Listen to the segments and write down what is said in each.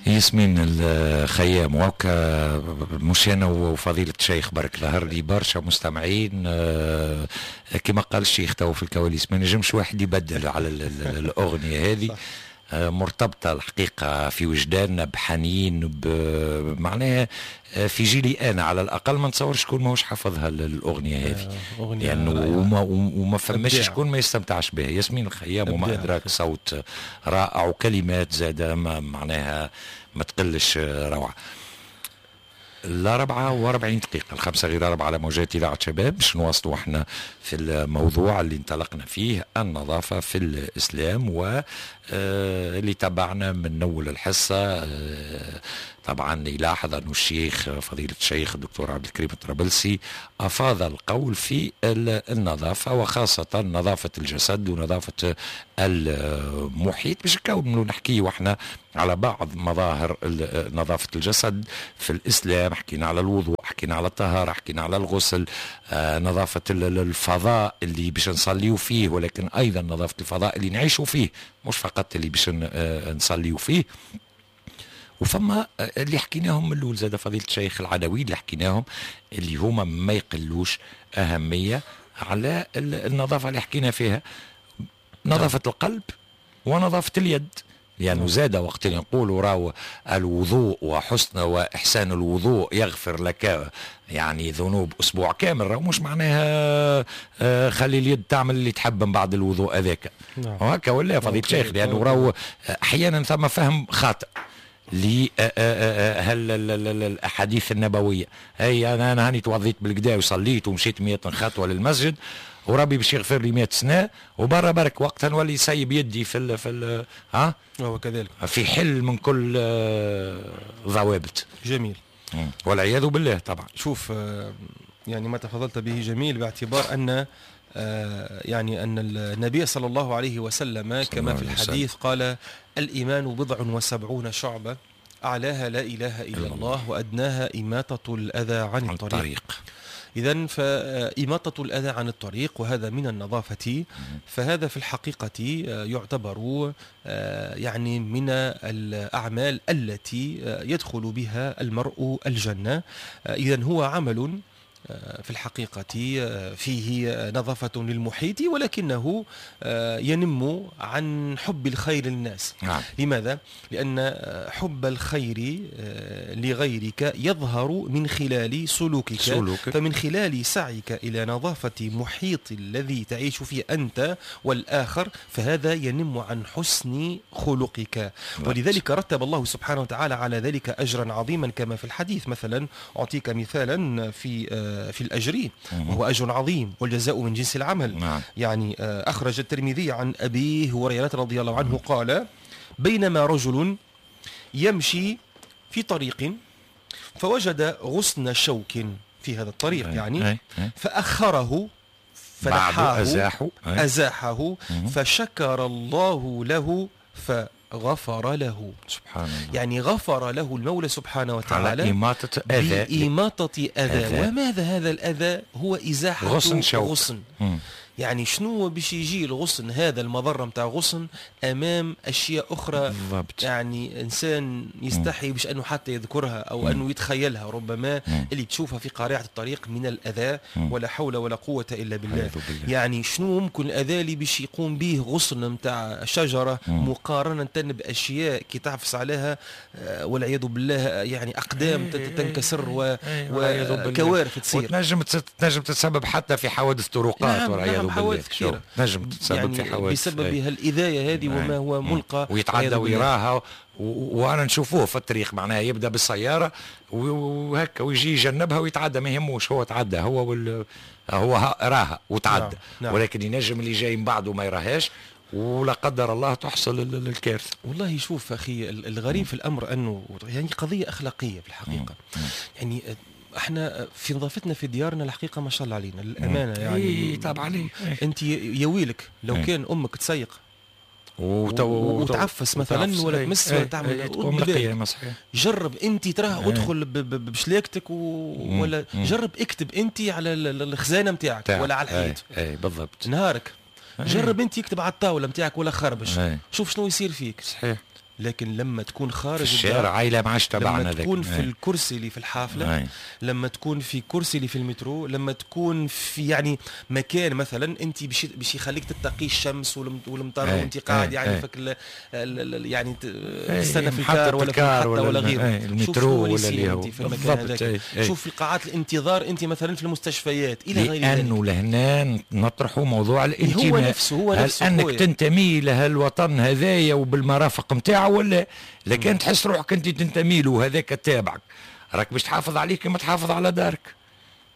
ياسمين الخيام وكا مش انا وفضيلة الشيخ برك، ظهر لي برشا مستمعين كما قال الشيخ تو في الكواليس ما نجمش واحد يبدل على الاغنية هذه، مرتبطة الحقيقة في وجداننا بحنين، معناها في جيلي أنا على الأقل ما نتصورش شكون ماهوش حافظها الأغنية هذه، لأنه وما فماش شكون ما يستمتعش بها. ياسمين الخيام وما أدراك، صوت رائع وكلمات زادة معناها ما تقلش روعة. 44، 4:45 على موجات إذاعة شباب، باش نواصلوا احنا في الموضوع اللي انطلقنا فيه، النظافة في الإسلام، واللي تبعنا من أول الحصة طبعا يلاحظ أن الشيخ فضيلة الشيخ الدكتور عبد الكريم الطرابلسي أفاض القول في النظافة، وخاصة نظافة الجسد ونظافة المحيط، باش نكونوا نحكي واحنا على بعض مظاهر نظافة الجسد في الإسلام. حكينا على الوضوء، حكينا على الطهارة، حكينا على الغسل، نظافة الفضاء اللي باش نصليو فيه، ولكن أيضا نظافة الفضاء اللي نعيشوا فيه، مش فقط اللي باش نصليو فيه. وفما اللي حكيناهم من الاول زاد فضيلة الشيخ، العناوين اللي حكيناهم اللي هما ما يقلوش اهمية على النظافة اللي حكينا فيها، نظافة القلب ونظافه اليد، لأنه زاد وقت اللي نقولوا راهو الوضوء وحسن وإحسان الوضوء يغفر لك يعني ذنوب أسبوع كامل، راهو مش معناها خلي اليد تعمل اللي تحب من بعد الوضوء هذاك. وهكا ولا فضيلة الشيخ؟ لأنه راهو أحيانا ثم فهم خاطئ هل الاحاديث النبوية، هي انا هاني توضيت بالقدا وصليت ومشيت 100 خطوة للمسجد وربي باش يغفر لي 100 سنة وبرا برك، وقتها نولي يسيب يدي في ال ها وهو كذلك في حل من كل ضوابط. جميل. والعياذ بالله طبعا. شوف، يعني ما تفضلت به جميل، باعتبار ان يعني ان النبي صلى الله عليه وسلم كما في الحديث قال: الايمان 70 شعبه، اعلاها لا اله الا الله، وادناها اماطة الاذى عن الطريق. إذا فإماطة الأذى عن الطريق وهذا من النظافة، فهذا في الحقيقة يعتبر يعني من الأعمال التي يدخل بها المرء الجنة. إذا هو عمل في الحقيقة فيه نظافة للمحيط، ولكنه ينم عن حب الخير للناس. لماذا؟ لأن حب الخير لغيرك يظهر من خلال سلوكك. فمن خلال سعيك إلى نظافة محيط الذي تعيش فيه أنت والآخر، فهذا ينم عن حسن خلقك. ولذلك رتب الله سبحانه وتعالى على ذلك أجرا عظيما كما في الحديث. مثلا أعطيك مثالا في الأجر، وهو أجر عظيم، والجزاء من جنس العمل. يعني أخرج الترمذي عن أبي هريرة رضي الله عنه قال: بينما رجل يمشي في طريق فوجد غصن شوك في هذا الطريق، يعني فأخره فنحاه، أزاحه. أزاحه، فشكر الله له فغفر له. سبحان الله. يعني غفر له المولى سبحانه وتعالى على إماطة أذى. بإماطة أذى. وماذا هذا الأذى؟ هو إزاحة غصن شوك. غصن. يعني شنو باش يجي الغصن هذا، المضرة متاع غصن أمام أشياء أخرى؟ يعني إنسان يستحي باش أنه حتى يذكرها أو أنه يتخيلها ربما، اللي تشوفها في قارعة الطريق من الأذى، ولا حول ولا قوة إلا بالله. والعياذ بالله. يعني شنو ممكن الأذى اللي باش يقوم به غصن متاع شجرة مقارنة بأشياء كي تعفس عليها والعياذ بالله يعني أقدام تنكسر والعياذ بالله. وكوارث تصير. وتنجم تنجم تتسبب حتى في حوادث طرقات. والعياذ بالله. حوادث كثيرة. تنجم تتسبب يعني في حوادث بسبب هالإذاية هذه وما هو ملقى ويتعدى والعياذ بالله. ويراها وانا نشوفوه في الطريق، معناها يبدا بالسيارة وهكا ويجي يجنبها ويتعدى، ما يهموش، هو تعدى هو هو راها وتعدى. نعم، نعم. ولكن ينجم اللي جاي من بعده ما يراهاش، ولا قدر الله تحصل الكارثه. والله شوف اخي، الغريب في الامر انه يعني قضية اخلاقية في الحقيقه، يعني احنا في نظافتنا في ديارنا الحقيقة ما شاء الله علينا للامانة يعني. إيه طبعا عليه. انت يا ويلك لو كان امك تسيق وتعفس مثلا وتعفس. ولا تمس ولا تعمل تقوم رد بالك. القيامة صحيح. جرب انت تراه ادخل بشلاكتك ولا جرب اكتب انت على الخزانة نتاعك ولا على الحيط. اي بالضبط. نهارك جرب انت اكتب على الطاولة نتاعك ولا خربش، شوف شنو يصير فيك. صحيح. لكن لما تكون خارج في الشارع عائلة ما عادش تبعنا. لما تكون في الكرسي اللي في الحافلة، لما تكون في كرسي اللي في المترو، لما تكون في يعني مكان مثلا انت باش يخليك تتقي الشمس والمطر وانت قاعد يعني فك يعني تستنى في الكار ولا في المحطة ولا غيره، المترو ولا اللي هو في المكان هذاك. شوف في قاعات الانتظار انت مثلا في المستشفيات الى غير ذلك. لانه لهنا نطرحوا موضوع الانتماء. هو نفسه هو نفسه، هل انك تنتمي لهالوطن هذايا وبالمرافق نتاعو ولا لكن تحس روحك انت تنتمي له هذاك تابعك، راك باش تحافظ عليه كما تحافظ على دارك.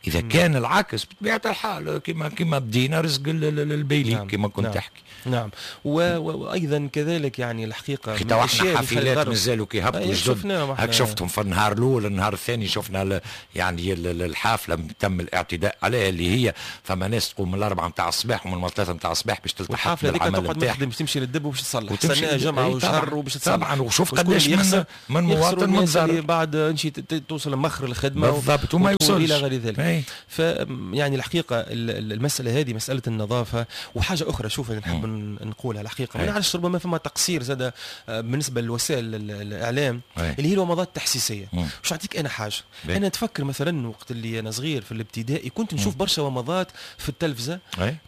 اذا كان العكس بطبيعة الحال كما بدينا رزق البيلي. نعم. كما كنت تحكي. نعم. وايضا كذلك يعني الحقيقة تو احنا حافلات مازالوا كي هبطوا جدد، هاك شفتهم في النهار الاول، النهار الثاني شفنا يعني الحافلة تم الاعتداء عليها، اللي هي فما ناس تقوم من 4 نتاع الصباح ومن 3 نتاع الصباح باش تلتحق بالعمل نتاعها. باش تمشي للدب وباش تصلح، تستناها جمعه وشهر وباش تصلح. طبعا. وشوف قداش من مواطن متضرر بعد توصل مخر الخدمة بالضبط وما يوصلش الى غير ذلك. فيعني الحقيقة المسالة هذه مسالة النظافة. وحاجه اخرى شوف نحب نقولها الحقيقة، ما نعرفش ربما فما تقصير زاد بالنسبة لوسائل الاعلام اللي هي الومضات التحسيسيه. باش نعطيك انا حاجة، انا نتفكر مثلا وقت اللي انا صغير في الابتدائي كنت نشوف برشا ومضات في التلفزة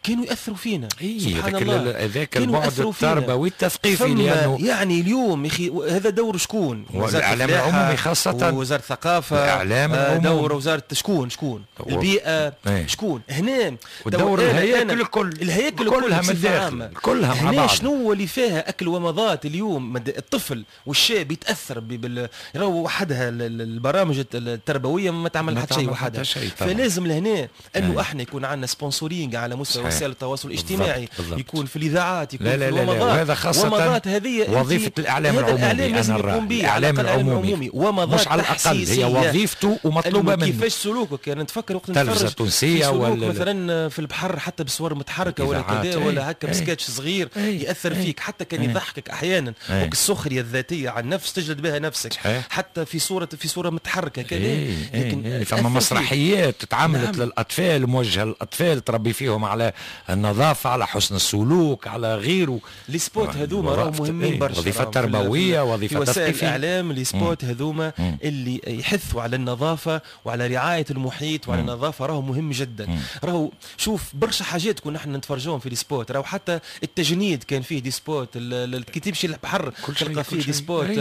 كانوا ياثروا فينا. سبحان الله، هذاك البعد التربوي التثقيفي، لانه يعني اليوم يا اخي هذا دور شكون؟ الاعلام العمومي خاصة، وزارة الثقافة، الاعلام العمومي، دور وزارة شكون البيئة، شكون هنا دور الهياكل الكل، الهياكل كلها من الداخل كلها مع بعض. شنو اللي فيها اكل ومضات اليوم؟ الطفل والشاب يتاثر راهو وحدها البرامج التربوية ما تعمل حتى شيء وحدها. فلازم لهنا انه احنا يكون عندنا sponsoring على مستوى وسائل التواصل الاجتماعي. بالضبط. يكون في الاذاعات، يكون لا لا في الومضات. وهذا خاصة ومضات هذه وظيفة الاعلام العمومي. انا الاعلام العمومي ومضات مش على الاقل هي وظيفته ومطلوبه منه. كيفاش سلوكك؟ يعني نتفكر وقت التلفزة التونسية ولا مثلا في البحر حتى بصور متحركة ولا كذا ولا هكا بسكتش صغير ياثر فيك، حتى كان يضحكك احيانا. والسخرية الذاتية عن النفس تجلد بها نفسك. حتى في صوره متحركة كذا. لكن فما مسرحيات تعملت. نعم. للاطفال، موجهة للاطفال، تربي فيهم على النظافة، على حسن السلوك، على غيره. les spots هذوما راهم مهمين برشا، وظيفة تربوية، وظيفة تثقيفيه. الاعلام les spots هذوما اللي يحثوا على النظافة وعلى رعاية المحيط وعلى النظافة راهو مهم جدا. راهو شوف برشا حاجات كنا احنا نتفرجوهم في les spots، راهو حتى التجنيد كان فيه des spots، كي تمشي للبحر تلقى فيه des spots،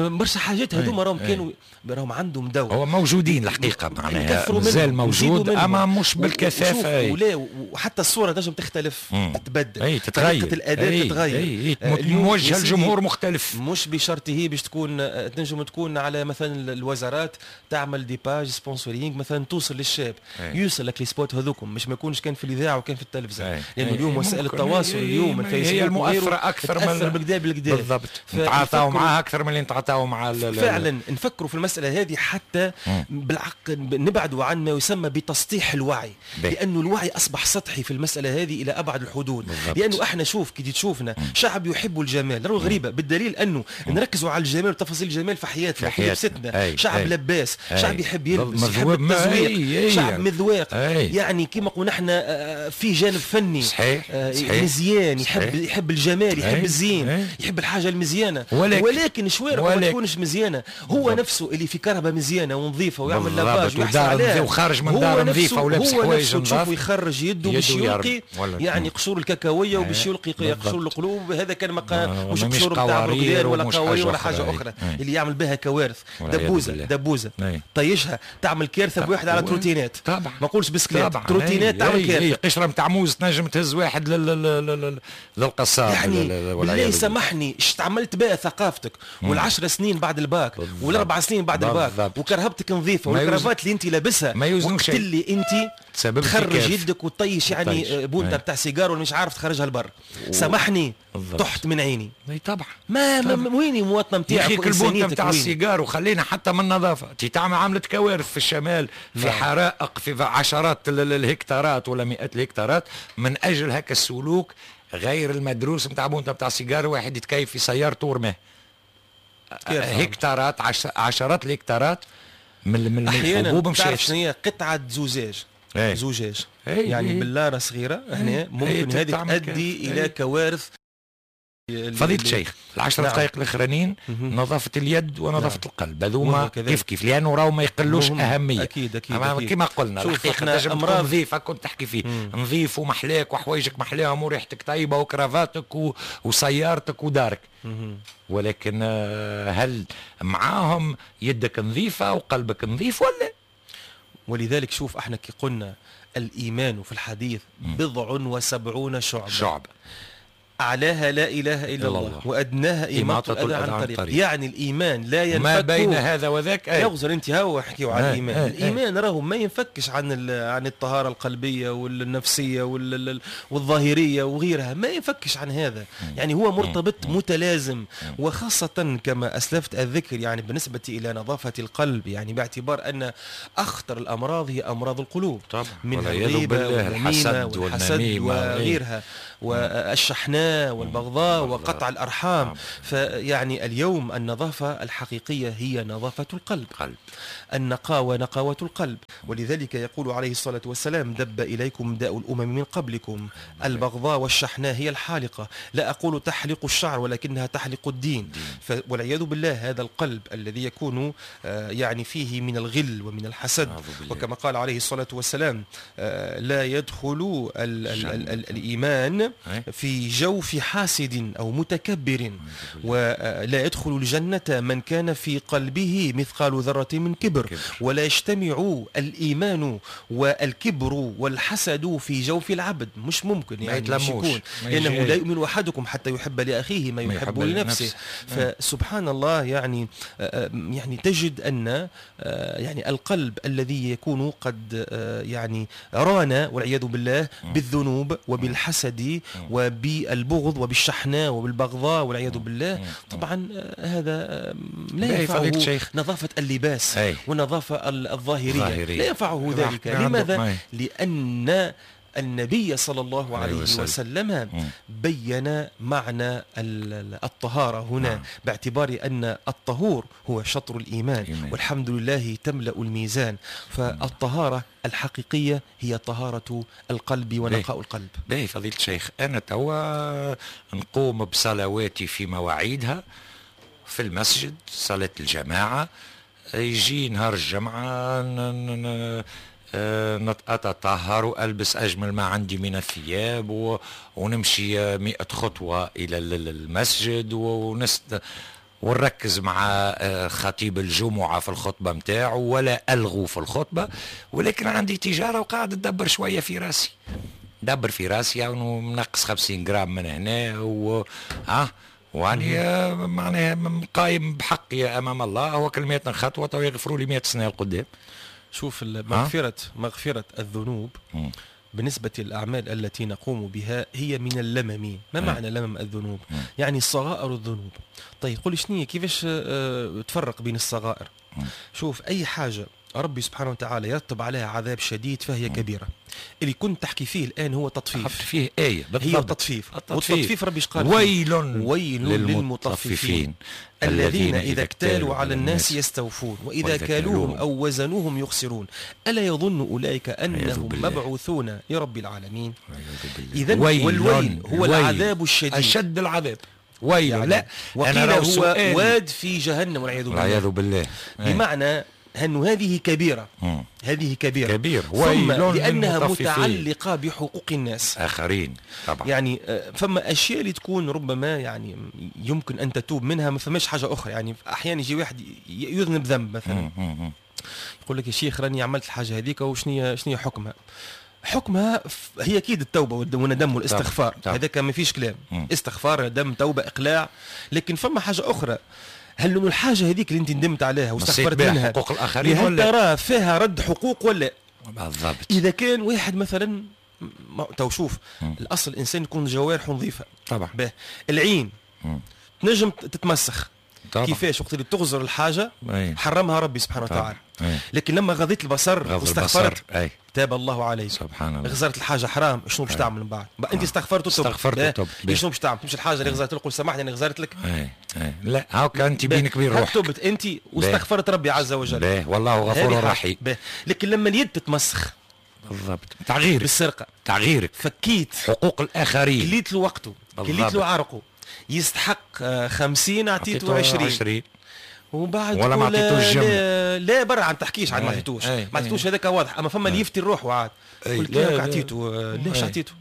برشا حاجات هذوما راهم كانوا راهم عندهم دور. هو موجودين الحقيقة، معناها مازال موجود اما مش بالكثافه. ولا وحتى الصورة تنجم تختلف، تتبدل، تتغير، طريقه الاداء تتغير، موجهة لجمهور مختلف. مش بشرطه باش تكون تنجم تكون على مثلا الوزارات تعمل des pages sponsoring مثلا توصل للشاب، يوصل لك les spots هذوكم، مش ما يكونش كان في الاذاعة وكان في التلفزة. لانه اليوم وسائل التواصل اليوم الفيسبوك هي المؤثرة اكثر من بالكدا بالكدا. بالضبط، نتعاطاو معاها اكثر من اللي نتعاطاو مع فعلا نفكروا في المسالة هذه حتى بالعقل نبعدوا عن ما يسمى بتسطيح الوعي. لانه الوعي اصبح سطحي في المسالة هذه الى ابعد الحدود. بالضبط. لانه احنا شوف كي تشوفنا شعب يحب الجمال، راهو غريبة بالدليل انه نركزوا على الجمال وتفاصيل الجمال في حياتنا، في لبستنا. شعب لباس، شعب يحب يلبس، يحب التزويق، شعب مذواق. يعني كما قلنا احنا في جانب فني. صحيح. مزيان، يحب الجمال، يحب الزين، يحب الحاجة المزيانه. ولكن شوارعه ما تكونش مزيانه. هو نفسه اللي في كرهبه مزيانه ونظيفه ويعمل lavage ويحصل عليها وخارج من دار نظيفة ولابس حوايج نظاف، ويخرج يده باش يلقي يعني قشور الكاكاويه وباش يلقي قشور القلوب. هذا كان مش قشور نتاع برجلان ولا قوارير ولا حاجة اخرى اللي يعمل بها كوارث. دبوزه طيشها تعمل كارثة بواحد على trottinette. طبعا ما نقولش بسكليت، trottinette تعمل كارثة. قشرة نتاع موز تنجم تهز واحد للقصاب. يعني بالله سامحني، اش عملت بها ثقافتك والعشر سنين بعد الباك والاربع سنين بعد الباك وكرهبتك نظيفة والكرافات اللي انت لابسها، وقت اللي انت تخرج يدك وتطيش يعني بونتا بتاع سيجار ولا مش عارف تخرجها لبر. سامحني طحت من عيني. طبعا ما ويني المواطنة نتاعك البونتا نتاع السيجار؟ وخلينا حتى من النظافة تعمل عملت كوارث في الشمال، في حرائق في عشرات الهكتارات ولا مئات الهكتارات من اجل هكا السلوك غير المدروس نتاع بونتا نتاع سيجار، واحد يتكيف في سيارته ورماه. هكتارات، عشرات الهكتارات من الحبوب مشات. تعرف شنو هي قطعه زجاج؟ زجاج يعني بلاره صغيرة هنا ممكن هذه تؤدي الى كوارث. فضيلة الشيخ العشر دقائق الاخرانيين نظافة اليد ونظافه القلب هذوما كيف كيف، لانه راهو ما يقلوش اهمية. اكيد اكيد, أكيد. كما قلنا الحقيقة تنجم تكون نظيفة، كنت تحكي فيه نظيف ومحلاك وحوايجك محلاهم وريحتك طيبة وكرافاتك وسيارتك ودارك، ولكن هل معاهم يدك نظيفة وقلبك نظيف ولا؟ ولذلك شوف احنا كي قلنا الايمان في الحديث 70 شعبه، أعلاها لا إله إلا الله وأدناها إماطة الأذى عن الطريق. يعني الإيمان لا ينفك ما بين هذا وذاك. يغزر أنت هو حكيوا على الإيمان. الإيمان راهو ما ينفكش عن الطهارة القلبية والنفسية والظاهرية وغيرها، ما ينفكش عن هذا. يعني هو مرتبط متلازم، وخاصة كما أسلفت الذكر يعني بالنسبة إلى نظافة القلب، يعني باعتبار أن أخطر الأمراض هي أمراض القلوب، من الغيبة والنميمة والحسد وغيرها والشحناء والبغضاء وقطع الأرحام. فيعني اليوم النظافة الحقيقية هي نظافة القلب، النقاوة نقاوة القلب. ولذلك يقول عليه الصلاة والسلام: دب إليكم داء الأمم من قبلكم، البغضاء والشحناء هي الحالقة، لا أقول تحلق الشعر ولكنها تحلق الدين. والعياذ بالله هذا القلب الذي يكون يعني فيه من الغل ومن الحسد، وكما قال عليه الصلاة والسلام: لا يدخل الإيمان في جوف حاسد أو متكبر، ولا يدخل الجنة من كان في قلبه مثقال ذرة من كبر، ولا يجتمع الإيمان والكبر والحسد في جوف العبد. مش ممكن يعني، مش يكون، لأنه لا يؤمن أحدكم حتى يحب لأخيه ما يحب لنفسه. فسبحان الله، يعني تجد أن يعني القلب الذي يكون قد يعني ران والعياذ بالله بالذنوب وبالحسد وبالبغض وبالشحناء وبالبغضاء والعياذ بالله، طبعا هذا لا ينفعه نظافة اللباس والنظافة الظاهرية، لا ينفعه ذلك. لماذا؟ لأن النبي صلى الله عليه وسلم بين معنى الطهارة هنا باعتبار أن الطهور هو شطر الإيمان، والحمد لله تملأ الميزان. فالطهارة الحقيقية هي طهارة القلب ونقاء القلب. باهي فضيلة الشيخ، أنا توا نقوم بصلواتي في مواعيدها في المسجد، صلاة الجماعة، يجي نهار الجمعة أتطهر وألبس أجمل ما عندي من الثياب ونمشي 100 خطوة إلى المسجد ونركز مع خطيب الجمعة في الخطبة متاعه ولا ألغو في الخطبة، ولكن عندي تجارة وقاعد أدبر شوية في راسي، دبر في راسي يعني منقص 50 جرام من هنا وعني معناها قايم بحقي أمام الله، هو كل 100 خطوة ويغفروا لي 100 سنة القدام. شوف، مغفرة الذنوب بالنسبة للأعمال التي نقوم بها هي من اللمم. ما معنى لمم الذنوب؟ يعني صغائر الذنوب. طيب قولي شنية، كيفاش تفرق بين الصغائر؟ شوف، أي حاجة ربي سبحانه وتعالى يرتب عليها عذاب شديد فهي كبيرة. اللي كنت تحكي فيه الآن هو تطفيف، فيه آية بالضبط، هي التطفيف. والتطفيف ربي قال: ويل للمطففين الذين إذا اكتالوا على الناس يستوفون وإذا كالوهم أو وزنوهم يخسرون ألا يظن أولئك أنهم مبعوثون لرب العالمين. إذن والويل هو العذاب الشديد، أشد العذاب. ويل يعني لا، وقيل هو واد في جهنم والعياذ بالله. بمعنى أن هذه كبيرة، هذه كبيرة كبير، ثم لأنها متعلقة بحقوق الناس آخرين طبعا. يعني فما أشياء اللي تكون ربما يعني يمكن أن تتوب منها، ما فماش حاجة أخرى. يعني أحيانا يجي واحد يذنب ذنب مثلا، يقول لك يا شيخ راني عملت الحاجة هذيك وشنية حكمها؟ حكمها هي أكيد التوبة والندم والاستغفار، هذاك ما فيش كلام، استغفار، ندم، توبة، إقلاع. لكن فما حاجة أخرى، هل انه الحاجة هذيك اللي انت ندمت عليها واستغفرت منها حقوق الاخرين، هل ولا ترى فيها رد حقوق ولا؟ بالضبط. اذا كان واحد مثلا تو شوف، الاصل الانسان يكون جوارحه نظيفة طبعا. به العين تنجم تتمسخ طبعا. كيفاش؟ وقت اللي تغزر الحاجة حرمها ربي سبحانه وتعالى، لكن لما غضيت البصر واستغفرت تاب الله عليك. سبحان الله. غزرت الحاجة حرام، شنو باش تعمل من بعد؟ انت استغفرت وتبت، شنو باش تعمل؟ تمشي الحاجة اللي غزرت لك قول سامحني انا غزرت لك. لا، هاك انت بينك وبين روحك تبت انت واستغفرت ربي عز وجل. والله غفور رحيم. لكن لما اليد تتمسخ بالضبط، تغييرك بالسرقة، تغييرك، فكيت حقوق الاخرين، كليت له وقته، كليت له عرقه. يستحق 50 عطيته 20 ومن بعد ولا ما عطيتوش لا, لا برا عم تحكيش عاد ما عطيتوش ما عطيتوش، هذاك واضح. اما فما اللي يفتي روحه عاد قلت لك عطيته، ليش عطيته؟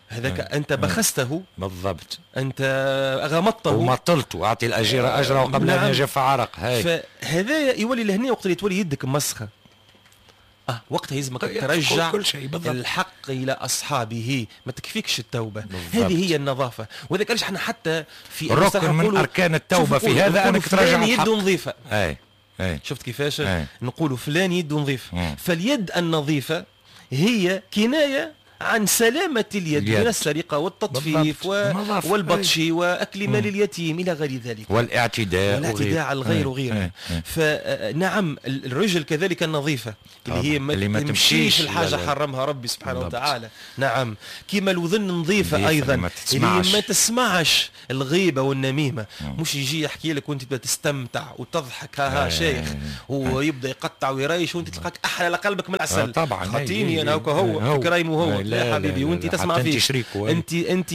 هذاك انت بخسته بالضبط، انت غمضته ومطلته، اعطي الاجير اجره قبل ان يجف عرق. هاي فهذا يولي لهنا وقت اللي تولي يدك مسخه وقتها يلزمك ترجع كل شيء بالضبط. الحق الى اصحابه، ما تكفيكش التوبة. هذه هي النظافة. وذاك علاش احنا حتى في ركن من اركان التوبة في هذا انك ترجع الحق. يده نظيفة. اي شفت كيفاش نقولوا فلان يده نظيفة. فاليد النظيفة هي كناية عن سلامة اليد من السرقة والتطفيف والبطش وأكل مال اليتيم إلى غير ذلك، والاعتداء على الغير وغيره. فنعم الرجل كذلك النظيفة اللي هي ما تمشيش الحاجة حرمها ربي سبحانه وتعالى. نعم كما الوذن نظيفة أيضا اللي ما تسمعش الغيبة والنميمة. مش يجي يحكي لك وانت تبدا تستمتع وتضحك ها شيخ، ويبدا يقطع ويريش وانت تلقاك أحلى لقلبك من العسل. طبعا خاطيني أنا هو كرايم وهو لا حبيبي، وانت تسمع فيه، انت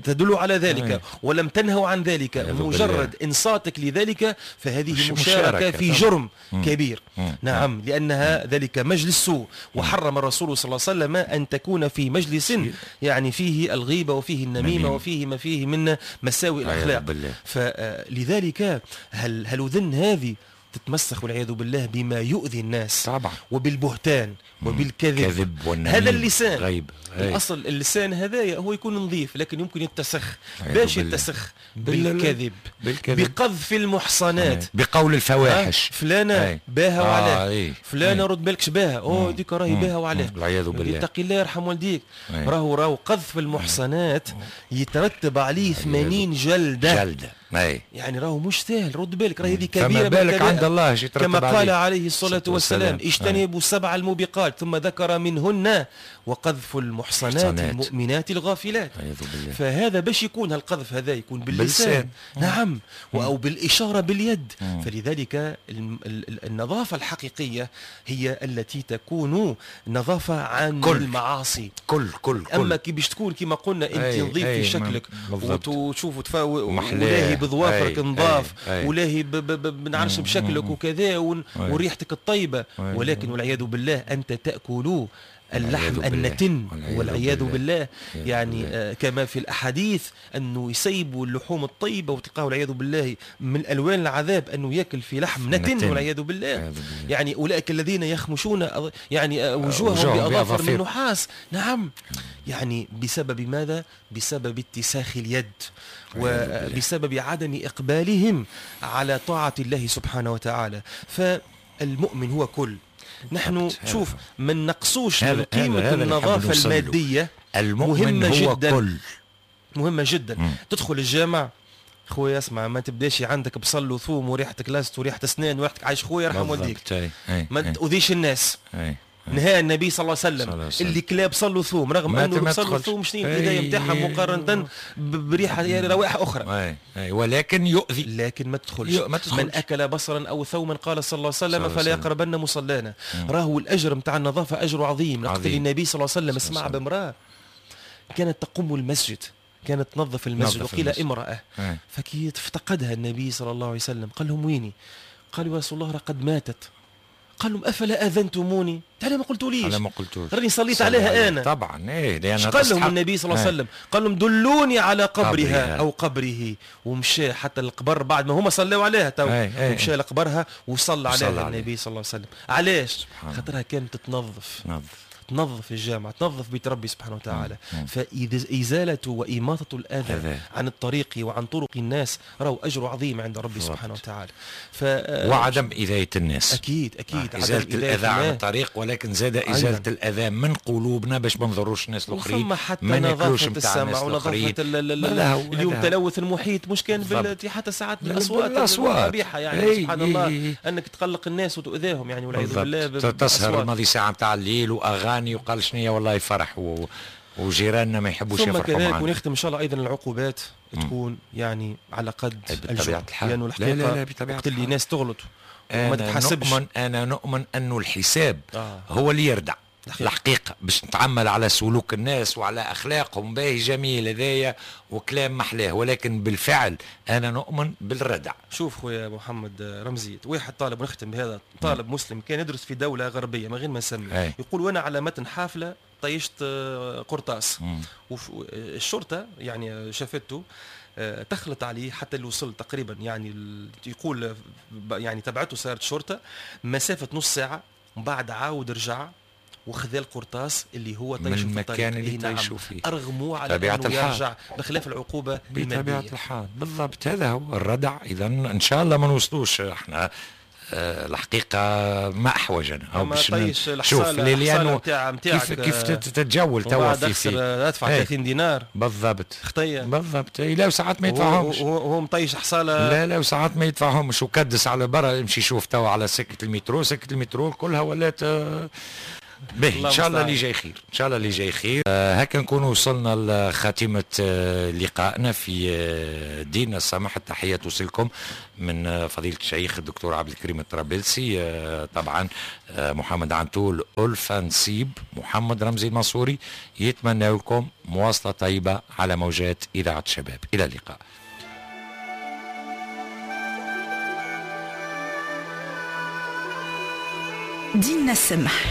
تدل على ذلك ولم تنهوا عن ذلك. مجرد انصاتك لذلك فهذه مشاركة في جرم كبير. نعم لانها ذلك مجلس سوء، وحرم الرسول صلى الله عليه وسلم ان تكون في مجلس يعني فيه الغيبة وفيه النميمة وفيه ما فيه من مساوئ الاخلاق. فلذلك هل اذن هذه تتمسخ والعياذ بالله بما يؤذي الناس طبعا، وبالبهتان وبالكذب. هذا اللسان غيب. الأصل اللسان هذايا هو يكون نظيف، لكن يمكن يتسخ. باش يتسخ بالكذب، بقذف المحصنات، بقول الفواحش. فلانة باها وعلاه، فلانة رد بالكش باها، أوه ديك راهي باها وعلاه، والعياذ بالله. اتقي الله يرحم والديك. راهو قذف المحصنات يترتب عليه 80 جلدة. يعني راهو مش سهل، رد بالك، راهي هذه كبيرة. فما بالك عند الله كما قال عليه الصلاة والسلام اجتنبوا 7 الموبقات، ثم ذكر منهن وقذف المحصنات المؤمنات الغافلات. فهذا باش يكون القذف هذا يكون باللسان. نعم أو بالإشارة باليد. فلذلك النظافة الحقيقية هي التي تكون نظافة عن المعاصي كل كل. أما كي باش تكون كما قلنا أنت نظيف في شكلك وتشوف ولاهي بظوافرك نظاف، ولاهي بنعرش بشكلك وكذا وريحتك الطيبة، ولكن والعياذ بالله أنت تأكل اللحم النتن والعياذ بالله. يعني كما في الأحاديث أنه يسيبوا اللحوم الطيبة وتلقاه والعياذ بالله من ألوان العذاب أنه يأكل في لحم نتن والعياذ بالله. يعني أولئك الذين يخمشون يعني وجوههم بأظافر من نحاس. نعم يعني بسبب ماذا؟ بسبب اتساخ اليد وبسبب عدم إقبالهم على طاعة الله سبحانه وتعالى. فالمؤمن هو كل. نحن شوف ما نقصوش من قيمة النظافة المادية، المؤمن هو جداً كل، مهمة جدا. تدخل الجامع خويا اسمع، ما تبداش عندك بصل وثوم وريحتك لاست وريحة اسنان وريحتك عايش خويا يرحم والديك، ما تؤذيش الناس. نهى النبي صلى الله عليه وسلم اللي كلاب صلوا ثوم، رغم انه صلوا ثوم شنو البداية نتاعها مقارنة بريحه يعني روائح اخرى، ولكن يؤذي، لكن ما تدخلش. من اكل بصرا او ثوما قال صلى الله عليه وسلم فلا يقربن مصلانا. راهو الاجر نتاع النظافة اجر عظيم. لقد النبي صلى الله عليه وسلم سمع بامراة كانت تقوم المسجد، كانت تنظف المسجد، وقيل امراة، فكي افتقدها النبي صلى الله عليه وسلم قال لهم ويني؟ قالوا يا رسول الله قد ماتت. قال لهم افلا اذنتموني؟ تعالى ما قلتوليش، انا ما قلتوش، راني صليت عليها انا. طبعا ايه، لان قال لهم النبي صلى الله عليه وسلم قال لهم دلوني على قبرها او قبره، ومشى حتى القبر بعد ما هما صلوا عليها تو، ومشى لقبرها وصلى عليها النبي صلى الله عليه وسلم. علاش؟ خاطرها كانت تنظف، تنظف الجامع، تنظف بيت ربي سبحانه وتعالى. فإزالة وإماطة الأذى عن الطريق وعن طرق الناس راهو أجر عظيم عند ربي سبحانه وتعالى. وعدم إذاية الناس، أكيد أكيد إزالة الأذى عن الطريق، ولكن زاد إزالة الأذى من قلوبنا باش ما نضروش الناس الآخرين، ما ناكلوش نتاع الناس الآخرين. اليوم تلوث المحيط مش كان حتى ساعات بالأصوات القبيحة، يعني سبحان الله أنك تقلق الناس وتؤذاهم يعني والعياذ بالله. تسهر الماضي ساعة نتاع الليل وأغاني وقال شنية والله فرح وجيراننا ما يحبوش يفرحوا معنا. ثم كذلك ونختم ان شاء الله ايضا العقوبات تكون يعني على قد بطبيعة الحال، لانه الحقيقة لا لا لا وقت اللي ناس تغلط وما تتحاسبش. انا نؤمن انه الحساب هو اللي يردع. الحقيقة باش نتعمل على سلوك الناس وعلى اخلاقهم، باهي جميل هذايا وكلام محلاه، ولكن بالفعل انا نؤمن بالردع. شوف خويا محمد رمزي، واحد طالب، ونختم بهذا، طالب مسلم كان يدرس في دولة غربية من غير ما نسمي، يقول وانا على متن حافلة طيشت قرطاس، والشرطة يعني شافته تخلط عليه حتى اللي وصل تقريبا، يعني يقول يعني تبعته سيارة الشرطة مسافة نص ساعة، ومن بعد عاود رجع وخذا القرطاس اللي هو طيشوا في المكان اللي طيشوا فيه. ارغموه على انه يرجع بخلاف العقوبة المادية. بطبيعة الحال بالضبط، هذا هو الردع. اذا ان شاء الله ما نوصلوش احنا الحقيقة ما احوجنا او باش شوف لانه كيف تتجول توا في ادفع 30 دينار بالضبط خطيه بالضبط. لا وساعات ما يدفعهمش، وهو مطيش حصاله. لا لا وساعات ما يدفعهمش وكدس على برا. يمشي يشوف توا على سكة المترو، سكة المترو كلها ولات باهي. ان شاء الله اللي جاي خير، ان شاء الله اللي جاي خير. هكا نكون وصلنا لخاتمه لقائنا في ديننا السمح. التحية توصلكم من فضيلة الشيخ الدكتور عبد الكريم الطرابلسي، طبعا محمد عنتول، ألفة نصيب، محمد رمزي المنصوري، يتمنى لكم مواصلة طيبة على موجات اذاعة الشباب. الى اللقاء. ديننا السمح.